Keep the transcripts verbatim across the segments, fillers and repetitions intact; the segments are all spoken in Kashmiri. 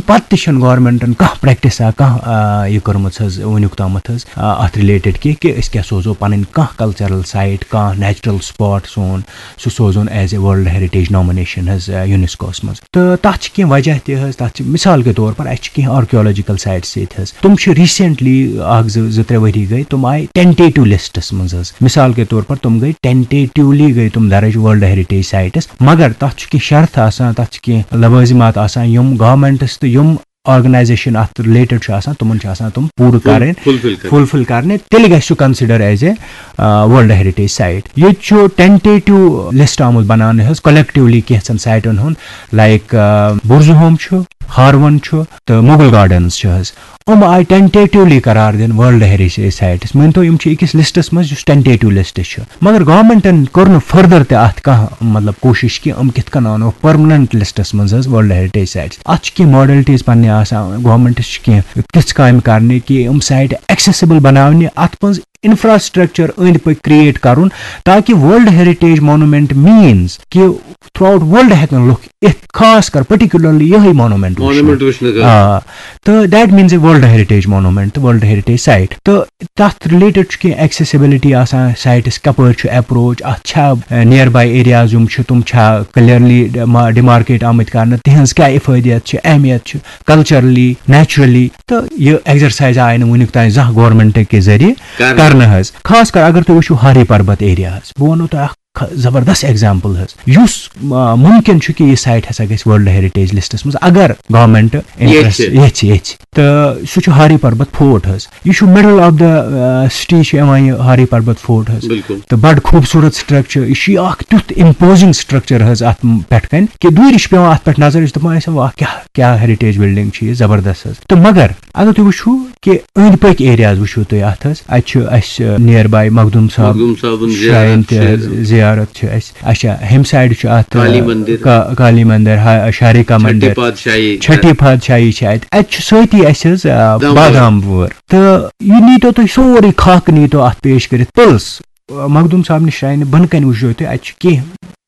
پتہٕ تہِ چھَنہٕ گورنمنٹن کانٛہہ پریکٹس آ کانٛہہ آ، یہِ کٔرمٕژ حظ وٕنیُک تامَتھ حظ آ، اَتھ رِلیٹڈ کہِ کہِ أسۍ کیٛاہ سوزو پَنٕنۍ کانٛہہ کلچرل سایٹ، کانٛہہ نیچرل سپاٹ سون، سُہ سوزون as a world heritage nomination حظ یونیسکوس منٛز۔ تہٕ تَتھ چھِ کینٛہہ وجہ تہِ حظ، تَتھ چھِ مثال کے طور پر اَسہِ چھِ کینٛہہ آرکیولوجیکل سائٹس ییٚتہِ حظ، تِم چھِ ریسنٹلی اکھ زٕ زٕ ترٛےٚ ؤری گٔے، تِم آیہِ ٹینٹیٹو لسٹس منٛز حظ۔ مثال کے طور پر تِم گٔے ٹینٹیٹولی گٔے تِم درج ورلڈ ہیریٹیج سائٹس، مگر تَتھ چھُ کینٛہہ شرط آسان، تَتھ چھِ کینٛہہ لوازمات آسان، یِم گورنمنٹس تہٕ یِم آرگنائزیشن اَتھ رِلیٹڈ چھُ آسان، تِمن چھِ آسان تِم پوٗرٕ کرٕنۍ، فُلفِل کرٕنۍ۔ فُلفِل کرنہِ، تیٚلہِ گژھِ سُہ consider as a world heritage site. ییٚتہِ چھُ ٹینٹیٹو لسٹ آمُت بناونہٕ حظ کلیکٹولی کینٛژن سائٹن ہُنٛد، لائک بُرزُہوم چھُ، ہاروَن چھُ تہٕ مغل گارڈنز چھِ حظ۔ یِم آیہِ ٹینٹیٹولی قرار دِنہٕ ورلڈ ہیریٹیج سائٹس۔ مٲنۍ تو، یِم چھِ أکِس لسٹس منٛز یُس ٹینٹیٹو لسٹ چھُ، مگر گورنمنٹن کوٚر نہٕ فردر تہِ اَتھ کانٛہہ مطلب کوٗشش کہِ یِم کِتھ کٔنۍ اَنوکھ پٔرمننٹ لسٹس منٛز حظ ورلڈ ہیریٹیج سائٹس۔ اَتھ چھِ کینٛہہ ماڈلٹیز پننہِ آسان، گورنمنٹس چھِ کینٛہہ تِژھ کامہِ کرنہِ کہِ یِم سائٹ ایکسیسیبل بناونہِ، اَتھ منٛز انفراسٹرکچر أنٛدۍ پٔکۍ کریٹ کرُن، تاکہ ورلڈ ہیریٹیج مانومینٹ مینز کہِ تھرو آؤٹ ورلڈ ہیٚکن لُکھ یِتھ، خاص کر پرٹیکولرلی یِہے مانومینٹ وٕچھنہِ۔ مانومینٹ وٕچھنہٕ خٲطرٕ۔ آ، تہٕ that means a world heritage monument تہٕ ورلڈ ہیریٹیج سائٹ۔ تہٕ تَتھ رِلیٹڈ چھُ کینٛہہ ایکسیسیبلٹی آسان، سائٹس کپٲرۍ چھُ اپروچ، اَتھ چھا نِیر باے ایریاز یِم چھِ تِم چھا کلیئرلی ڈیمارکیٹ آمٕتۍ کرنہٕ، تِہنٛز کیٛاہ افٲدیت چھِ، اہمیت چھِ کلچرلی، نیچرلی۔ تہٕ یہِ ایکسرسائز آیہِ نہٕ وٕنیُک تام زانٛہہ گورنمنٹ کہِ ذٔریعہٕ کرنہٕ۔ کرنہٕ حظ۔ خاص کر اگر تُہۍ وٕچھِو ہاری پربت ایریا حظ، بہٕ وَنو تۄہہِ اکھ خ-، زبردست ایگزامپل حظ، یُس آ، ممکن چھُ کہِ یہِ سائٹ ہسا گژھِ ورلڈ ہیریٹیج لسٹس منٛز اگر گورنمنٹ انٹرسٹ یژھِ۔ یژھِ یژھِ۔ تہٕ سُہ چھُ ہاری پربت فورٹ حظ۔ یہِ چھُ مڈل آف دا سٹی چھُ یِوان یہِ ہاری پربت فورٹ حظ۔ بِلکُل۔ تہٕ بڑٕ خوٗبصوٗرت سٹرکچر، یہِ چھُ اکھ تیُتھ امپوزنگ سٹرکچر حظ اتھ پٮ۪ٹھ کنہِ کہِ دوٗرِ چھِ پٮ۪وان اتھ پٮ۪ٹھ نظر، أسۍ چھِ دپان، "اچھا، واہ، کیٛاہ، کیٛاہ ہیریٹیج بلڈنگ چھِ یہِ، زبردست حظ۔" تہٕ مگر اگر تُہۍ وٕچھِو کہِ أنٛدۍ پٔکۍ ایریاز وٕچھِو تُہۍ اتھ حظ، اتہِ چھُ اسہِ نِیر باے مخدوٗم صٲب مخدوٗم صٲبُن شراین زیارت تہِ چھِ۔ حظ، زیارت چھِ اسہِ۔ اچھا، ہیٚمہِ سایڈٕ چھُ اتھ، کالی مندر۔ کا-، کالی مندر، ہا-، شارکا چھٹی مندر۔ پادشاہی۔ چھٹی پادشاہی چھِ اتہِ۔ اتہِ چھُ سۭتی اسہِ حظ، آ، بادام بادام وٲر۔ وٲر۔ تہٕ یہِ نیٖتو تُہۍ سورُے خاکہٕ نیٖتو اتھ پیش کٔرِتھ۔ پلس، آ، مخدوٗم صٲبنہِ شراینہِ بۄنہٕ کنہِ وٕچھو تُہۍ، اتہِ چھِ کینٛہہ،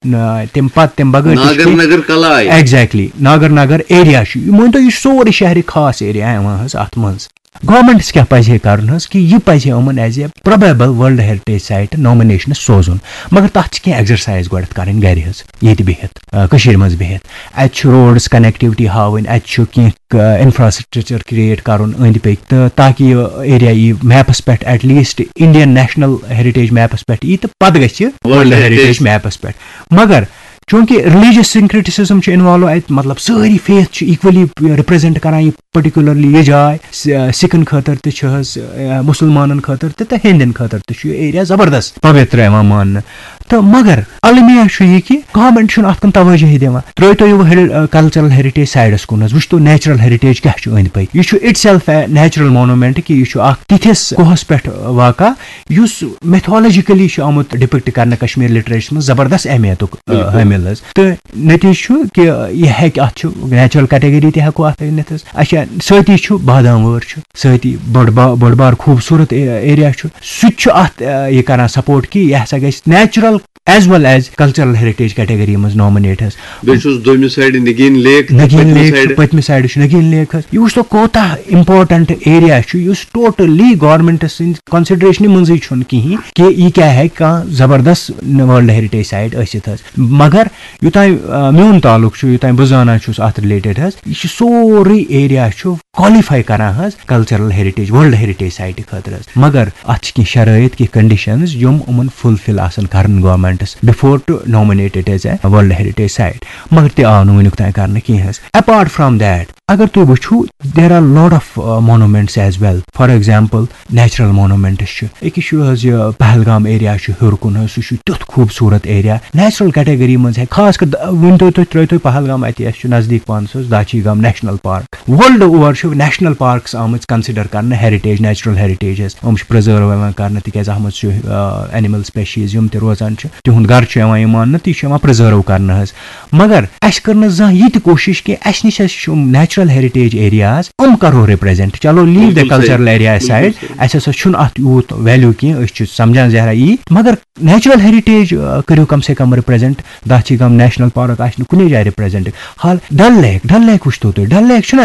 نہ، تمہِ پتہٕ تمہِ بغٲر تہِ چھِ ناگر کینٛہہ۔ نگر کلاے۔ ایگزیکٹلی، ناگر نگر ایریا چھُ۔ یہِ مٲنۍ تو، یہِ چھُ سورُے شہرِ خاص ایریا یِوان حظ اتھ منٛز۔ گورنمنٹس کیٛاہ پزِ ہے کرُن حظ کہِ یہِ پزِ ہے یِمن as a probable world heritage site nominations سوزُن، مگر تتھ چھِ کینٛہہ ایکسرسائز گۄڈٕنٮ۪تھ کرٕنۍ گرِ حظ، ییٚتہِ بِہِتھ، آ، کٔشیٖرِ منٛز بِہِتھ۔ اتہِ چھُ روڈس کنیکٹیوٹی ہاوٕنۍ، اتہِ چھُ کینٛہہ، آ، انفراسٹرکچر کریٹ کرُن أنٛدۍ پٔکۍ، تہٕ تاکہِ یہِ ایریا یی میپس پٮ۪ٹھ، at least Indian national heritage maps پٮ۪ٹھ یی، تہٕ پتہٕ گژھِ world world heritage heritage. Maps پٮ۪ٹھ۔ مگر چونکہ ریلیجس سنکریٹسزم چھُ انوالو اتہِ، مطلب سٲری فیتھ چھِ ایکولی رپریزنٹ کران، یہِ پرٹیکولرلی یہِ جاے س-، سکن خٲطرٕ تہِ چھِ حظ، آ، مسلمانن خٲطرٕ تہِ تہٕ ہیٚندٮ۪ن خٲطرٕ تہِ چھُ یہِ ایریا زبردست پویتر یِوان ماننہٕ۔ تہٕ مگر المیہ چھُ یہِ کہِ گورنمنٹ چھُنہٕ اتھ کُن توجہ دِوان۔ ترٲیتو یہِ ہیٚرِ-، آ، کلچرل ہیریٹیج سایڈس کُن حظ، وٕچھتو نیچرل ہیریٹیج کیٛاہ چھُ أنٛدۍ پٔکۍ۔ یہِ چھُ اٹ سیلف اے نیچرل مونومینٹ کہِ یہِ چھُ اکھ تِتھِس کوہس پٮ۪ٹھ واقع یُس میتھولوجیکلی چھُ آمُت ڈپکٹ کرنہٕ کشمیر لٹریچرس منٛز زبردست اہمیتُک، آ، بِلکُل۔ حٲمِل حظ۔ تہٕ نتیجہٕ چھُ کہِ یہِ ہیٚکہِ، اتھ چھُ نیچرل کیٹیگری تہِ ہیٚکو اتھ ؤنِتھ حظ۔ اچھا، سۭتی چھُ بادام وٲر چھُ، سۭتی بٔڑ با-، بٔڑ بار خوٗبصوٗرت اے-، ایریا چھُ، سُہ تہِ چھُ اتھ، آ، یہِ کران سپورٹ کہِ یہِ ہسا گژھِ نیچرل ایز ویل ایز کلچرل ہیریٹیج کیٹیگری منٛز نامنیٹ حظ۔ بیٚیہِ چھُس دوٚیمہِ سایڈٕ نگین لیک، نگین پٔتمہِ لیک چھُ، سایڈٕ۔ پٔتمہِ سایڈٕ چھُ نگین لیک حظ۔ یہِ وٕچھ تو کوتاہ امپورٹنٹ ایریا چھُ، یُس ٹوٹلی گورنمنٹس سٕنٛدِ کنسیڈریشنہِ منٛزٕے چھُنہٕ کِہیٖنۍ کہِ یہِ کیٛاہ ہیٚکہِ کانٛہہ زبردست ورلڈ ہیریٹیج سایٹ ٲسِتھ حظ۔ مگر یوٚتام، آ، میون تعلق چھُ، یوٚتام بہٕ زانان چھُس اتھ رِلیٹڈ حظ، یہِ چھُ سورُے ایریا چھُ کوالیفائی کران حظ کلچرل ہیریٹیج، ورلڈ ہیریٹیج سائٹہِ خٲطرٕ حظ۔ مگر اتھ چھِ کینٛہہ شرٲیط، کینٛہہ کنڈیشنز یِم یِمن فلفل آسن کرٕنۍ governments before to nominate it as a world heritage site۔ مگر تہِ آو نہٕ وٕنیُک تام کرنہٕ کینٛہہ حظ۔ Apart from that، اگر تُہۍ وٕچھِو، there are lot of, uh, monuments as well۔ For example، natural monuments چھِ۔ أکِس چھُ حظ یہِ پہلگام ایریا چھُ ہیوٚر کُن حظ، سُہ چھُ تیُتھ خوٗبصوٗرت ایریا۔ نیچرل کیٹیگری منٛز ہیٚکہِ، خاص کر د-، ؤنۍ تو تُہۍ، ترٲوۍ تُہۍ پہلگام اَتہِ، اَسہِ چھُ نزدیٖک پانَس حظ داچھی گام نیشنل پارک۔ ورلڈ اوور چھُ نیشنل پارکس آمٕژ کنسیڈر کرنہٕ ہیریٹیج، نیچرل ہیریٹیج حظ۔ یِم چھِ پرزرو یِوان کرنہٕ، تِکیازِ اَتھ منٛز چھُ، آ، اینیمل سپیشیز یِم تہِ روزان چھِ، تِہُنٛد گرٕ چھُ یِوان یہِ ماننہٕ، تہٕ یہِ چھُ یِوان پرزرو کرنہٕ حظ۔ مگر اَسہِ کٔر نہٕ زانٛہہ یہِ تہِ کوٗشِش کہِ اَسہِ نِش ہسا چھِ یِم نیچرل ہیریٹیج ایریاز، یِم کرو ریپرزینٹ۔ چلو، leave the بِلکُل صحیح۔ Cultural area بِلکُل side، صحیح۔ اَسہِ ہسا چھُنہٕ اَتھ یوٗت ویلیو کینٛہہ، أسۍ چھِ سمجھان زہرا یی، مگر نیچرل ہیریٹیج، آ، کٔرِو کم سے کم ریپرزینٹ۔ داچھی گام نیشنل پارک آسہِ نہٕ کُنے جایہِ ریپرزینٹ۔ حال ڈل لیک، ڈل لیک وٕچھتو تُہۍ، ڈل لیک چھُنہ